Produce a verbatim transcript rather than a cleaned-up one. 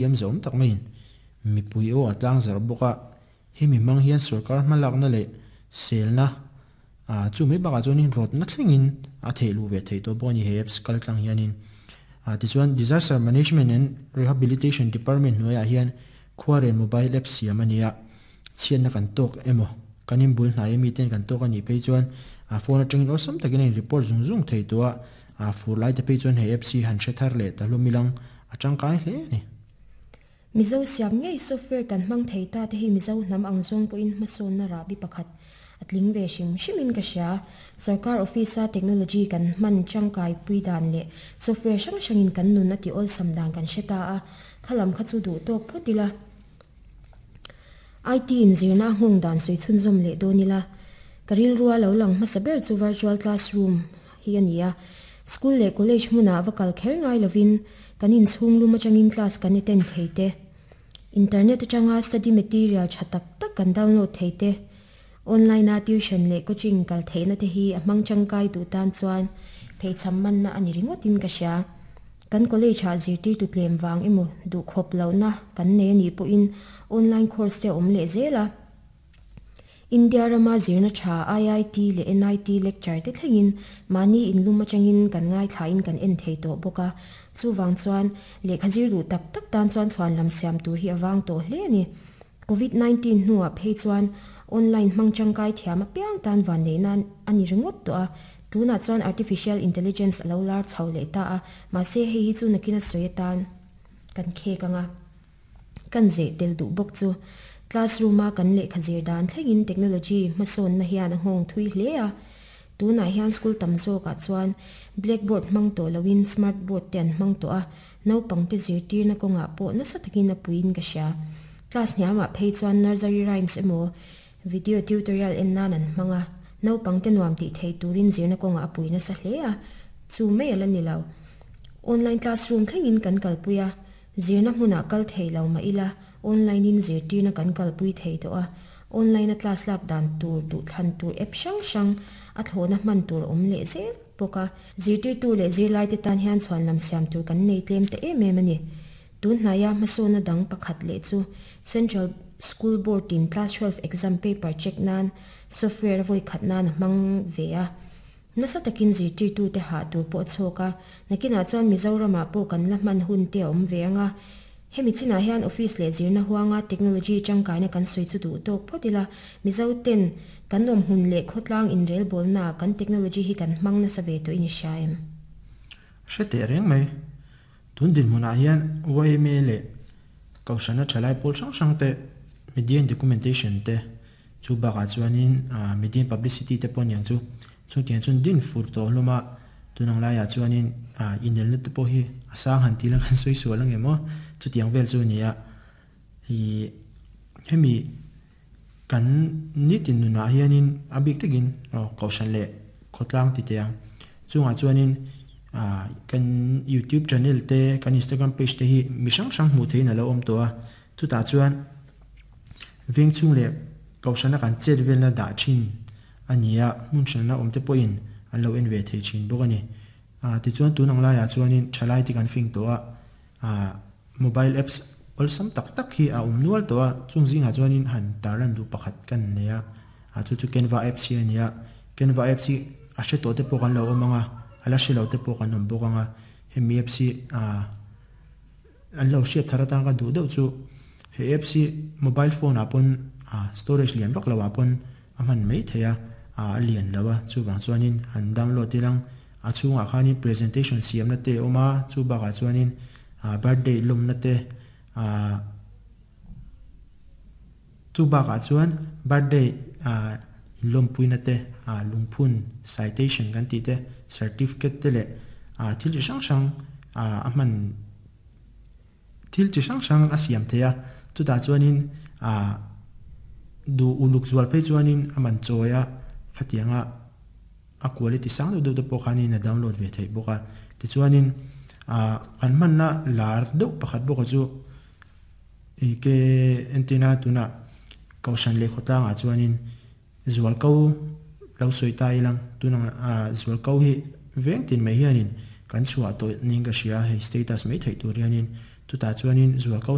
Thiam zawm tak maiin mipui aw a tlangzarh bawk a, hemi hmang hian sorkar hmalakna leh selna ah chu mai bakah chuanin rawtna thlengin a theih luh ve theih tawh bawk a ni he apps kal tlang hianin. Ah tichuan Disaster Management and Rehabilitation Department hnuaiah hian Khuarel mobile app siam a ni a, chhiatna kan tawk emaw kan inbul hnai ami ten kan tawk a nih phei chuan ah phone atangin awlsam takin a in report zung zung thei tawh a, ah fur lai te phei chuan he apps hi han hre thar leh ta hlawm ilang a tangkai hle a ni. Mizo siam ngei software kan hmang thei ta te hi Mizo hnam ang zawng pawhin hmasawnna rahbi pakhat a tling ve hrim hrimin ka hria. Sorkar office a technology kan hman tangkai pui dan leh software hrang hrangin kan nun a ti awlsam dan kan hre ta a, khalam kha chu duh tawk phawt ila. I T in zirna a nghawng dan sawi chhunzawm leh dawn ila, ka rilrua lo lang hmasa ber chu virtual classroom hi a ni a. School leh college hmunah va kal kher ngai lovin kan inchhung lum atangin class kan attend thei te, internet atanga study material tha tak tak kan download thei te, online a tuition leh coaching kal theihna te hi a hmang tangkai duh tan chuan pheichham manna a ni ringawtin ka hria. Kan college ah zirtirtu tlem vang emaw duh khawp lohna kan nei a nih pawhin online course te a awm leh zel a. India rama zirna tha I I T leh N I T lecture te thlengin mahni inlum atangin kan ngaithlain kan en thei tawh bawk a. Chuvang chuan lehkha zir duh tak tak tan chuan chhuan lam siam tur hi a vang tawh hle a ni. Covid nineteen hnuah phei chuan online hmang tangkai thiam apiang tan vanneihna a ni ringawt tawh a. Tunah chuan artificial intelligence a lo lar chho leh ta a, mahse hei hi chu nakin a sawi atan kan khek ang a, kan zeh tel duh bawk chu. Classroom a kan lehkha zir dan thlengin technology hmasawnna hian a nghawng thui hle a. Tunah hian school tam zawkah chuan blackboard hmang tawh loin smart board te an hmang tawh a, naupangte zirtirna kawngah pawh nasa takin a puiin ka hria. Class hniamah phei chuan nursery rhymes emaw video tutorial en nan an hmang a, naupangte nuam tih thei turin zirna kawngah a pui nasa hle a, chu mai a la ni lo. Online classroom thlengin kan kalpui a, zirna hmunah kal thei lo mah ila online in zirtirna kan kalpui thei tawh a, online a class lak dan tur duhthlan tur app hrang hrang a thlawhna hman tur awm leh zel bawk a. Zirtirtu leh zirlaite tan hian chhuan lam siam tur kan nei tlem ta em em a ni. Tunhnaia hmasawnna dang pakhat leh chu Central School Board in class twelve exam paper check nan software a vawi khat nan a hmang ve a. Nasa takin zirtirtute hah tur pawh a chhawk a, nakinah chuan Mizoramah pawh kan la hman hun te a awm ve ang a. Hemi chinah hian office leh zirna huanga technology tangkaina kan sawi chu duh tawk phawt ila, Mizo ten kan awm hmun leh khawtlang inrelbawlnaah kan technology hi kan hmang nasa ve tawhin i hria em? Hre teh reng mai. Tun dinhmunah hian Y M A leh Kohhrana thalai pawl hrang hrang te, media and documentation te, chu bakah chuanin media and publicity te pawh aniang chu, chutiang chuan din fur tawh hlawm a, tunang laiah chuanin inelna te pawh hi a sang han tih lang kan sawi sual ang em aw, chutiang vel chu a ni a. Ih hemi kan nitin nunah hianin a bik takin aw Kohhran leh khawtlang ti teh ang chungah chuanin ah kan YouTube channel te kan Instagram page te hi mi hrang hrang hmuh theihin a lo awm tawh a, chutah chuan veng chhung leh Kohhrana kan chet velna dah thin a ni a, hmun hranna awm te pawhin an lo en ve thei thin bawk a ni. Ah tichuan tun ang laiah chuanin thalai te kan fing tawh a, ah mobile apps awlsam tak tak hi a awm nual tawh a, chung zingah chuanin han tarlan duh pakhat kan nei a, ah chu chu Canva apps hi a ni a. Canva apps hi a hre tawh te pawh kan lo awm ang a, a la hre lo te pawh kan awm bawk ang a, hemi apps hi ah an lo hriat thar atan ka duh deuh chu he apps hi mobile phone ah pawn ah storage lian vak lo ah pawn a hman mai thei a, ah a lian lo a, chuvang chuanin han download ilang a chhungah khanin presentation siamna te a awm a, chu bakah chuanin ah birthday lawmna te ah chu bakah chuan birthday ah inlawmpuina te ah lungphun citation kan tih te certificate te leh ah thil chi hrang hrang ah a hman thil chi hrang hrang a siam thei a, chutah chuanin ah duh uluk zual phei chuanin a man chawi a, khatianga a quality sang deuh deuh te pawh khanin a download ve theih bawk a. Tichuanin ah kan hmanna lar deuh pakhat bawk a chu ih ke entina tunah Kohhran leh khawtlangah chuanin zualko lo sawi ta ilang tunang ah zualko hi veng tin mai hianin kan chhuah tawh niin ka hria, hei status mai theih tur hianin Chutah chuanin zual ko